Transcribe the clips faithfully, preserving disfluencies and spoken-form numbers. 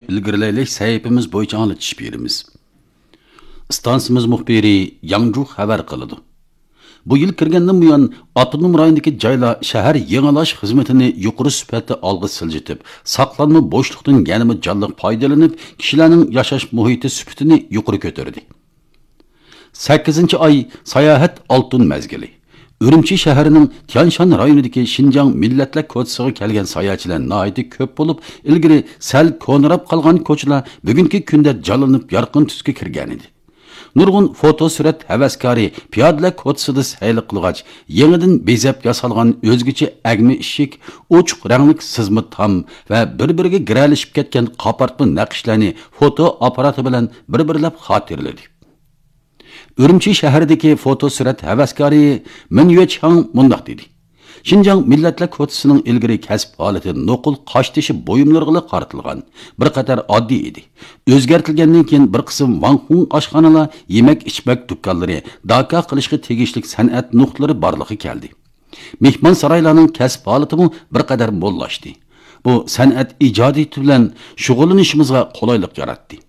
ئىلگىرىلەيلى سەھىپىمىز بويىچە ئاڭلىتىش بېرىمىز. ئىستانسىمىز مۇخبىرى ياڭجۇ خەۋەر قىلىدۇ. بۇ يىل كىرگەندىن بۇيان، ئاپتونوم رايوندىكى جايلار شەھەر يېڭىلاش خىزمىتىنى يۇقىرى سۈپەتتە ئالغا سىلجىتىپ، ساقلانما بوشلۇقتىن يەنىمۇ جانلىق پايدىلىنىپ، كىشىلەرنىڭ ياشاش مۇھىتى سۈپىتىنى يۇقىرى كۆتۈردى. سەككىزىنچى ئاي، ساياھەت ئالتۇن مەزگىلى. ئۈرۈمچى شەھىرىنىڭ تيانشان رايونىدىكى شىنجاڭ مىللەتلەر كوچىسىغا كەلگەن ساياھەتچىلەر ناھايىتى كۆپ بولۇپ، ئىلگىرى سەل كونىراپ قالغان كوچىلار بۈگۈنكى كۈندە جانلىنىپ، يارقىن تۈسكە كىرگەنىدى. نۇرغۇن فوتو سۈرەت ھەۋەسكارى پىيادىلەر كوچىسىدا سەيلە قىلغاچ، يېڭىدىن بېزەپ ياسالغان ئۆزگىچە ئەگمە ئىشىك، ئوچۇق رەڭلىك سىزما تام ۋە بىر-بىرىگە گىرەلىشىپ كەتكەن قاپارتما نەقىشلەرنى فوتو ئاپپاراتى بىلەن بىر-بىرلەپ خاتىرىلىدى. ئۈرۈمچى شەھىرىدىكى فوتو سۈرەت ھەۋەسكارى مىن يۈەچياڭ مۇنداق دېدى: شىنجاڭ مىللەتلەر كوچىسىنىڭ ئىلگىرى كەسىپ ھالىتى نوقۇل قاشتېشى بۇيۇملىرىغىلا قارىتىلغان. بىر قەدەر ئاددىي ئىدى. ئۆزگەرتىلگەندىن كېيىن بىر قىسىم ۋاڭخۇڭ ئاشخانىلار، يېمەك-ئىچمەك دۇكانلىرى، داكا قىلىشقا تېگىشلىك سەنئەت نۇقتىلىرى بارلىققا كەلدى. مېھمانسارايلارنىڭ كەسىپ ھالىتىمۇ بىر قەدەر موللاشتى. بۇ سەنئەت ئىجادىيىتى بىلەن شۇغۇللىنىشىمىزغا قولايلىق ياراتتى.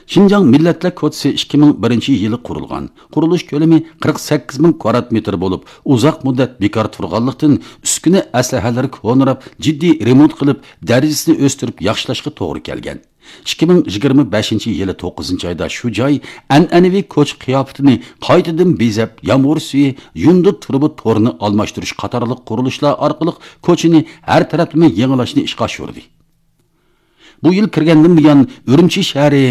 شىنجاڭ مىللەتلەر كوچىسى ئىككى مىڭ بىرىنچى يىلى قۇرۇلغان. قۇرۇلۇش كۆلىمى قىرىق سەككىز مىڭ كۋادرات مېتىر بولۇپ، ئۇزاق مۇددەت بىكار تۇرغانلىقتىن، ئۈسكۈنە ئەسلىھەلىرى كونىراپ، جىددىي رېمونت قىلىپ، دەرىجىسىنى ئۆستۈرۈپ ياخشىلاشقا توغرا كەلگەن. ئىككى مىڭ يىگىرمە بەشىنچى يىلى توققۇزىنچى ئايدا شۇ جاي ئەنئەنىۋى كوچا قىياپىتىنى قايتىدىن بېزەپ، يامغۇر سۈيى، يۇندى تۇرۇبا تورىنى ئالماشتۇرۇش قاتارلىق قۇرۇلۇشلار ئارقىلىق كوچىنى ھەر تەرەپلىمە يېڭىلاشنى ئىشقا ئاشۇردى. بۇ يىل كىرگەندىن بۇيان، ئۈرۈمچى شەھىرى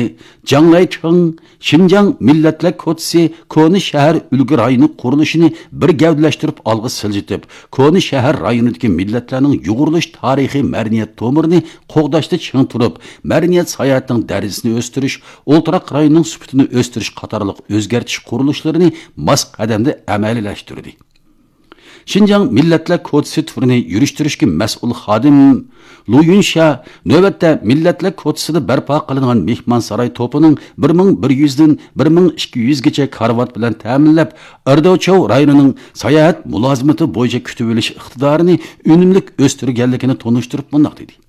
جاڭلەيچىڭ شىنجاڭ مىللەتلەر كوچىسى كونا شەھەر ئۈلگە رايونى قۇرۇلۇشىنى بىر گەۋدىلەشتۈرۈپ ئالغا سىلجىتىپ، كونا شەھەر رايونىدىكى مىللەتلەرنىڭ يۇغۇرۇلۇش تارىخىي مەدەنىيەت تومۇرىنى قوغداشتا چىڭ تۇرۇپ، مەدەنىيەت ساياھىتىنىڭ دەرىجىسىنى ئۆستۈرۈش، ئولتۇراق رايونىنىڭ سۈپىتىنى ئۆستۈرۈش قاتارلىق ئۆزگەرتىش قۇرۇلۇشلىرىنى ماس قەدەمدە ئەمەلىيلەشتۈردى. شىنجاڭ مىللەتلەر كوچىسى تۈرىنى يۈرۈشتۈرۈشكە مەسئۇل خادىم لۇ يۈنشا نۆۋەتتە مىللەتلەر كوچىسىدا بەرپا قىلىنغان مېھمانساراي توپىنىڭ بىر مىڭ بىر يۈزدىن بىر مىڭ ئىككى يۈزگىچە كارىۋات بىلەن تەمىنلەپ، ئەردوچاۋ رايونىنىڭ ساياھەت مۇلازىمىتى بويىچە كۈتۈۋېلىش ئىقتىدارىنى ئۈنۈملۈك ئۆستۈرگەنلىكىنى تونۇشتۇرۇپ مۇنداق دېدى: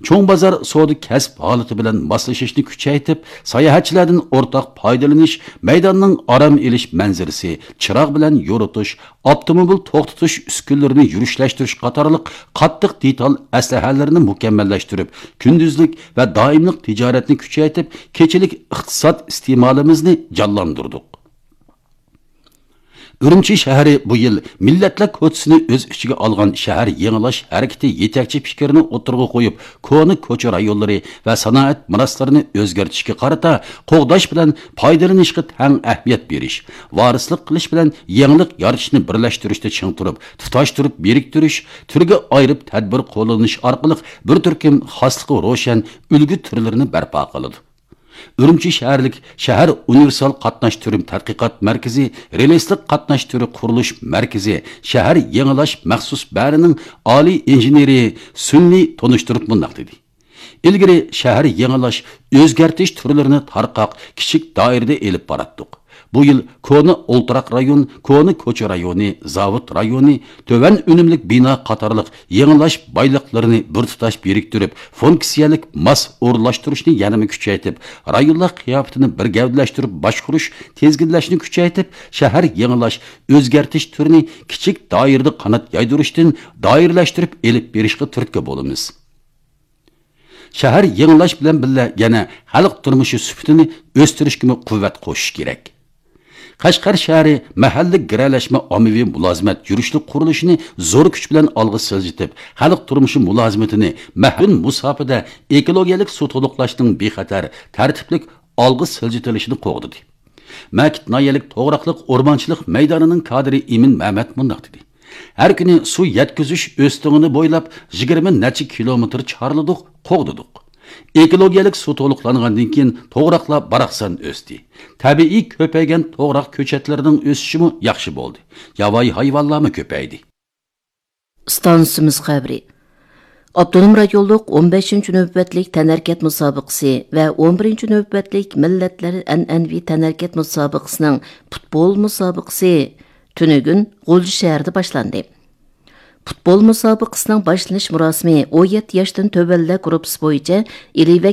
چوڭ بازار سودا كەسىپ ھالىتى بىلەن ماسلىشىشنى كۈچەيتىپ، ساياھەتچىلەردىن ئورتاق پايدىلىنىش، مەيداننىڭ ئارام ئېلىش مەنزىرىسى، چىراغ بىلەن يورۇتۇش، ئاپتوموبىل توختىتىش ئۈسكۈنىلىرىنى يۈرۈشلەشتۈرۈش قاتارلىق قاتتىق دېتال ئەسلىھەلىرىنى مۇكەممەللەشتۈرۈپ، كۈندۈزلۈك ۋە دائىملىق تىجارەتنى كۈچەيتىپ، كېچىلىك ئىقتىساد ئىستېمالىمىزنى جانلاندۇردۇق. ئۈرۈمچى شەھىرى بۇ يىل مىللەتلەر كوچىسىنى ئۆز ئىچىگە ئالغان شەھەر يېڭىلاش ھەرىكىتى يېتەكچى پىكرىنى ئوتتۇرىغا قويۇپ، كونا كوچا رايونلىرى ۋە سانائەت مىراسلىرىنى ئۆزگەرتىشكە قارىتا قوغداش بىلەن پايدىلىنىشقا تەڭ ئەھمىيەت بېرىش، ۋارىسلىق قىلىش بىلەن يېڭىلىق يارىتىشنى بىرلەشتۈرۈشتە چىڭ تۇرۇپ، تۇتاشتۇرۇپ بىرىكتۈرۈش، تۈرگە ئايرىپ تەدبىر قوللىنىش ئارقىلىق بىر تۈركۈم خاسلىقى روشەن ئۈلگە تۈرلىرىنى بەرپا قىلىدۇ. ئۈرۈمچى شەھەرلىك شەھەر ئۇنىۋېرسال قاتناش تۈرى تەتقىقات مەركىزى رېلىسلىق قاتناش تۈرى قۇرۇلۇش مەركىزى شەھەر يېڭىلاش مەخسۇس بەرىنىڭ ئالىي ئىنژېنېرى سۈنلى تونۇشتۇرۇپ مۇنداق دېدى: ئىلگىرى شەھەر يېڭىلاش، ئۆزگەرتىش تۈرلىرىنى تارقاق، كىچىك دائىرىدە ئېلىپ باراتتۇق. بۇ يىل كونا ئولتۇراق رايون، كونا كوچا رايونى، زاۋۇت رايونى، تۆۋەن ئۈنۈملۈك بىنا قاتارلىق يېڭىلاش بايلىقلىرىنى بىر تۇتاش بىرىكتۈرۈپ، فۇنكسىيەلىك ماس ئورۇنلاشتۇرۇشنى يەنىمۇ كۈچەيتىپ، رايونلار قىياپىتىنى بىر گەۋدىلەشتۈرۈپ باشقۇرۇش، تىزگىنلەشنى كۈچەيتىپ، شەھەر يېڭىلاش، ئۆزگەرتىش تۈرىنى كىچىك دائىرىدە قانات يايدۇرۇشتىن دائىرىلەشتۈرۈپ ئېلىپ بېرىشقا تۈرتكە بولىمىز. شەھەر يېڭىلاش بىلەن بىللە يەنە خەلق تۇرمۇشى سۈپىتىنى ئۆستۈرۈشكىمۇ قۇۋۋەت قوشۇش كېرەك. قەشقەر شەھىرى مەھەللە گىرەلەشمە ئاممىۋى مۇلازىمەت يۈرۈشلۈك قۇرۇلۇشىنى زور كۈچ بىلەن ئالغا سىلجىتىپ، خەلق تۇرمۇشى مۇلازىمىتىنى مەھدۇد مۇساپىدە ئېكولوگىيەلىك سۇ تولۇقلاشنىڭ بىخەتەر، تەرتىپلىك ئالغا سىلجىتىلىشىنى قوغدىدى. مەكىت ناھىيەلىك توغراقلىق ئورمانچىلىق مەيدانىنىڭ كادىرى ئىمىن مەمەت مۇنداق دېدى: ھەر كۈنى سۇ يەتكۈزۈش ئۆستىڭىنى بويلاپ يىگىرمە نەچچە كىلومېتىر چارلىدۇق، قوغدىدۇق. ئېكولوگىيەلىك سۇ تولۇقلانغاندىن كېيىن توغراقلار باراقسان ئۆستى. تەبىئىي كۆپەيگەن توغراق كۆچەتلىرىنىڭ ئۆسۈشىمۇ ياخشى بولدى. ياۋايى ھايۋانلارمۇ كۆپەيدى. ئىستانسىمىز خەۋىرى. ئاپتونوم رايونلۇق ئون بەشىنچى نۆۋەتلىك تەنھەرىكەت مۇسابىقىسى ۋە ئون بىرىنچى نۆۋەتلىك مىللەتلەر ئەنئەنىۋى تەنھەرىكەت مۇسابىقىسىنىڭ پۇتبول مۇسابىقىسى تۈنۈگۈن غۇلجا شەھىرىدە باشلاندى. پۇتبول مۇسابىقىسىنىڭ باشلىنىش مۇراسىمى ئون يەتتە ياشتىن تۆۋەنلەر گۇرۇپپىسى بويىچە ئىلى ۋە